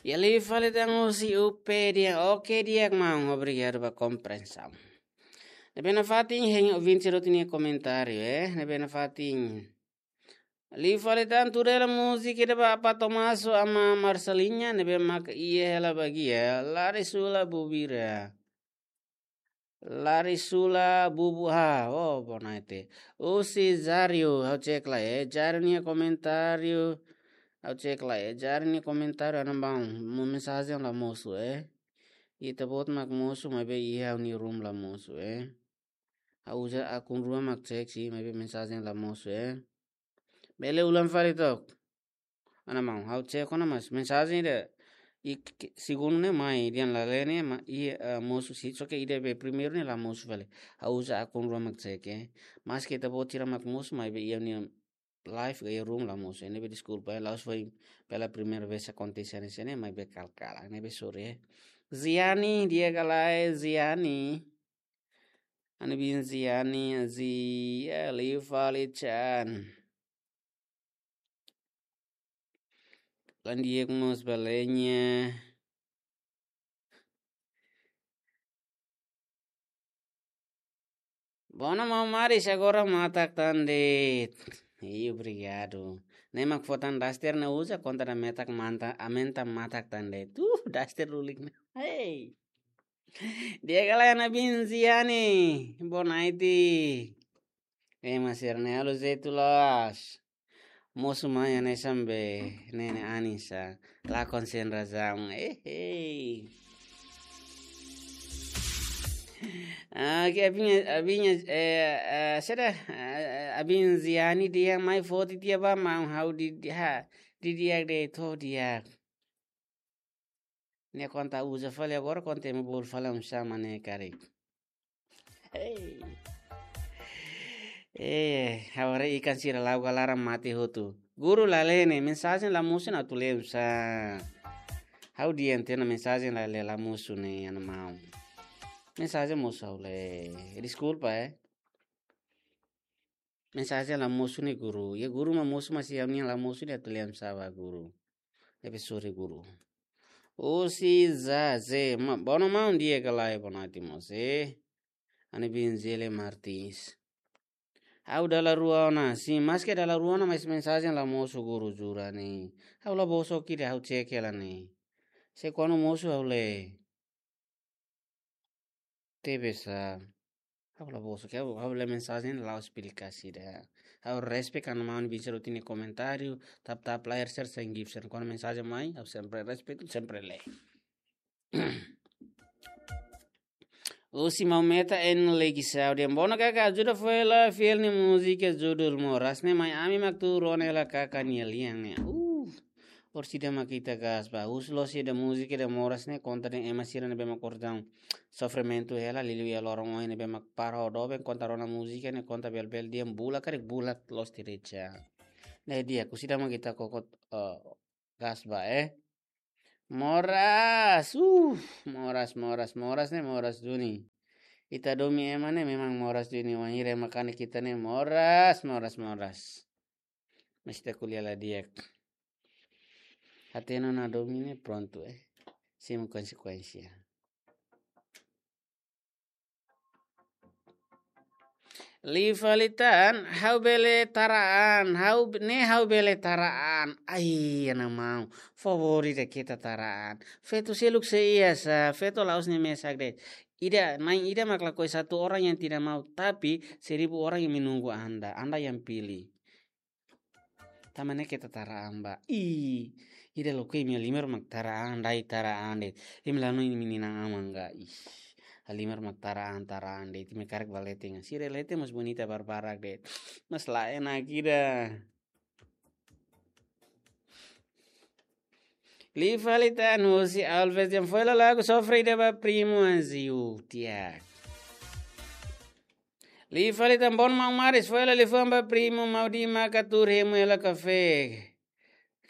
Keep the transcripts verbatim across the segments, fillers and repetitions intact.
Iha liu fali tan husi U P di'ak, oke di'ak maun, obrigadu ba komprensaun. Ne'ebé nafatin hein ouvinte sira hotu nia komentáriu, eh, ne'ebé nafatin. Liu fali tan tuur hela múzika ida ba Apa Tomaso ama Marcelinha, ne'ebé maka iha hela bagian, Lari Sula Bubira. Lari Sula Bubu ha, oh, bonaite. Husi Jario, ha'u cek lai, eh, Jario nia komentáriu. Ha'u cek lai, eh, Jario nia komentáriu, ana maun, mensajen la mosu, eh. Ita-boot mak mosu, maibé iha ha'u-nia room la mosu, eh. Ha'u uza akun rua mak cek, si, maibé mensajen la mosu, eh. Bele ulang fali took. Ana maun, ha'u cek ona mas mensajen ida, i k-, segundu ne'e mai, dehan la lee ne'e ma, i, eh, mosu si, só ke ida be primeiru ne'e la mosu fali. Ha'u uza akun rua mak cek, eh. Maske ita-boot sira mak mosu, maibé iha ha'u-nia live ka iha room la mosu. Ne'ebé deskulpa, eh, la'ós foin pela primeira vez akontese hanesan ne'e, maibé kal-kala, ne'ebé sorry, eh. Ziani, di'ak ka lae, Ziani. Ana biin Ziani, Zi, eh, liu fali chan. La'en di'ak mós ba Lenya. Bona maun Maris, agora matak tan de'it. Ih, obrigadu. Ne'e mak fó tan daster ne'e uza konta da metak manta, aumenta matak tan de'it. Uh, daster lulik ne'e. Hey. Di'ak ka lae ana biin Ziani, bonaite. Ema sira-ne'e halo jeitu loos. Mosu mai hanesan be, ne'e ne'e Anissa. Lakon sen razaun. Eh, eh. Ah, ke abin, abin, eh, eh, seda, eh, abin Ziani dehan mai foti tiha ba maun ha'u di, di, ha, di di'ak de'it, to'o di'ak. Ne'e konta uza fali agora, konta ema bolu fali um sama ne'e karik. Hey. Eh, agora ikan sira la'o ka laran mate hotu. Guru la lee ne'e, mensajen la mosu ne'e atu lee oinsá. Ha'u dehan tiha ona mensajen la lee la mosu ne'e, ana maun. Mensajen mosu ha'u lee. Deskulpa, eh. Mensajen la mosu ne'e guru. Ya guru mak mosu, mas ya nian la mosu ne'e atu lee oinsá ba guru. Ne'ebé sorry guru. Husi Zaze, ma, bona maun di'ak ka lae, bonaite mós, eh. Ana biin Zele Martins. Ha'u dala rua ona, sin, maske dala rua ona, mas mensajen la mosu guru jura ne'e. Ha'u la bosok ida, ha'u cek hela ne'e. Se kuandu mosu ha'u lee. Tebes, ah, ha'u la bosok, ha'u, ha'u lee mensajen la'ós pilih kasih ida. Ha'u respect ana maun biin sira hotu nia komentáriu, tap-tap layar, share, sen gift, sen. Kuandu mensajen mai, ha'u sempre respect, sempre lee. Husi Maumeta en Legi Saudi. Bona kaka, ajuda fó hela fiel nia múzika judul Moras ne'e mai ami mak tuur ona hela kaka nia lian ne'e. Uh. Orsida mak ita gas ba. Husi loos ida múzika ida Moras ne'e konta dehan ema sira ne'ebé mak kordaun sofrimentu hela, liuliu iha loron oin ne'ebé mak para ho doben, konta rona múzika ne'e konta bel-bel dehan bula karik bula loos tiha de'it. Ne'e di'ak, orsida mak ita koko, eh, gas ba, eh. Moras, uh, moras, moras, moras ne'e moras duni. Ita domin ema ne'e memang moras duni, wainhira ema kanek ita ne'e moras, moras, moras. Mas ita ko'alia la di'ak. Hatene ona domin ne'e prontu, eh. Simu konsekuénsia. Liu fali tan, ha'u bele tara an, ha'u be-, ne'e ha'u bele tara an. Ai, ana maun, favór ida keta tara an. Feto seluk sei iha sá, feto la'ós ne'e mesak de'it. Ida, na'in ida mak lakohi, satu orang yang tidak mau, tapi seribu orang yang menunggu Anda. Anda yang pilih. Tanba ne'e keta tara an ba. Ih, ida loke imi halimar mak tara an, dai tara an de'it. Imi la hanoin imi-nia inan-aman ka. Ih, halimar mak tara an, tara an de'it. Imi karik ba leten. Sira leten mós bonita barbarak de'it. Mas la enak ida. Liu fali tan husi Alves dehan fó hela lagu Sofre ida ba primu Anziu, di'ak. Liu fali tan, bona maun Maris, fó hela liafuan ba primu Maudi maka tuur hemu hela kafé.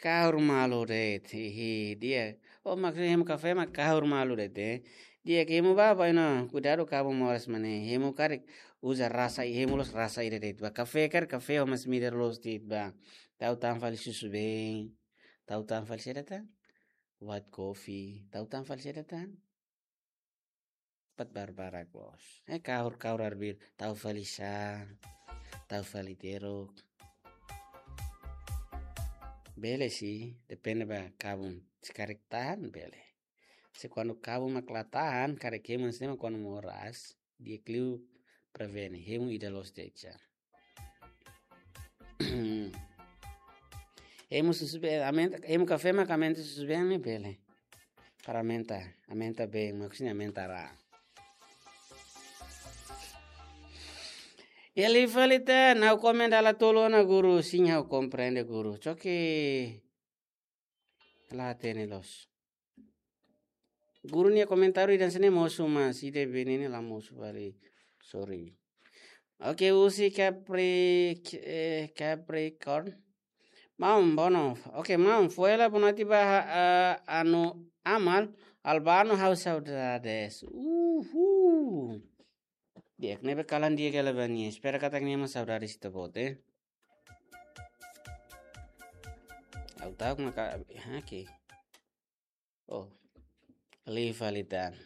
Kahur malu de'it, hihi, di'ak. Oh, mak hemu kafé mak kahur malu de'it, eh. Di'ak, hemu ba, ba ino, kuidadu kaben moras mak ne'e. Hemu karik uza rasa, hemu loos rasa ida de'it ba. Kafé karik kafé ho masin-midar loos de'it ba. Tau tan fali susubeen. Tau tan fali saida tan? White coffee, tau tan fali saida tan? Pat barbarak, bos. Eh, kahur-kahur arbiru, tau fali sá, tau fali teruk. Bele sih, depende ba kabun. Se karik tahan, bele. Se kuandu kabun mak la tahan, karik hemu hanesan ne'e mak kuandu moras, di'ak liu prevene, hemu ida loos de'it. Hemu susubeen, aumenta, hemu kafé mak aumenta susubeen ne'e bele. Para aumenta, aumenta bem, maksudnya aumenta ra. Iha liu fali tan, ha'u komen dala tolu ona guru, sin ha'u komprende guru. Choke. La hatene loos. Guru nia komentáriu ida hanesan ne'e mosu, mas ida be ne'e la mosu fali. Sorry. Oke, husi Capri-, eh, Capricorn. Maun, bono. Oke, maun, fó hela bonati ba, eh, anu Amal, Albano, ha'u saudades. Uhul. Di'ak, ne'ebé kalan di'ak hela ba nia. Espera katak nia mós saudades ita-boot, eh. Ha'u ta'uk maka, ha, oke. Oh, liu fali tan.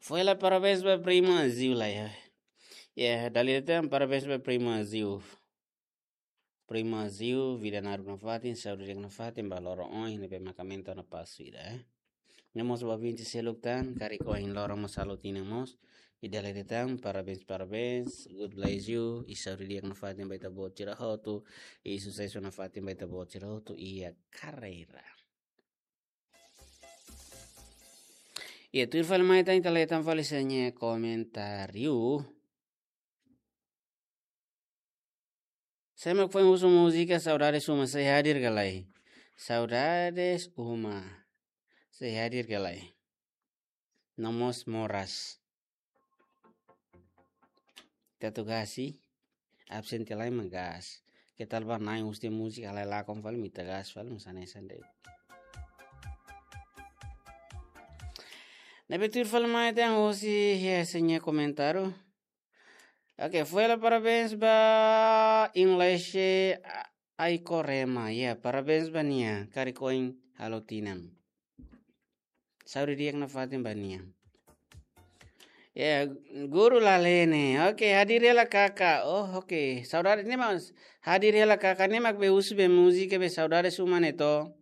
Fó hela parabéns ba prima Ziu lai, ya. Ya, dala ida tan parabéns ba prima Ziu. Prima Ziu, vida naruk nafatin, saúde di'ak nafatin, ba loron ohin ne'ebé mak aumenta ona pasu ida, eh. Ne'e mós ba ouvinte seluk tan, karik ohin loron mós halo tinan mós. I dala ida tan, parabéns, parabéns, God bless you, i saúde di'ak nafatin ba ita-boot sira hotu, i susesu nafatin ba ita-boot sira hotu iha karreira. Iha tuir fali mai tan, ita hetan fali sira-nia komentáriu. Sé mak foin husu múzika Saudades Uma, sei hadir ka lae? Saudades Uma, sei hadir ka lae? No mós moras. Tatu gasi, absen tiha lai mak gas. Ke tal ba nai husi múzika lai lakon fali mita gas fali, mas hanesan de'it. Ne'ebé tuir fali mai tan husi, ya, sira-nia komentáriu. Oke, fó hela parabéns ba Inglese Aikorema. Ya, parabéns ba nia, karik ohin halo tinan. Saúde di'ak nafatin ba nia. Ya, guru la hatene. Oke, hadir hela kaka. Oh, oke. Saudade ne'e mak, hadir hela kaka ne'e mak be husu be múzika be Saudades Uma ne'e to.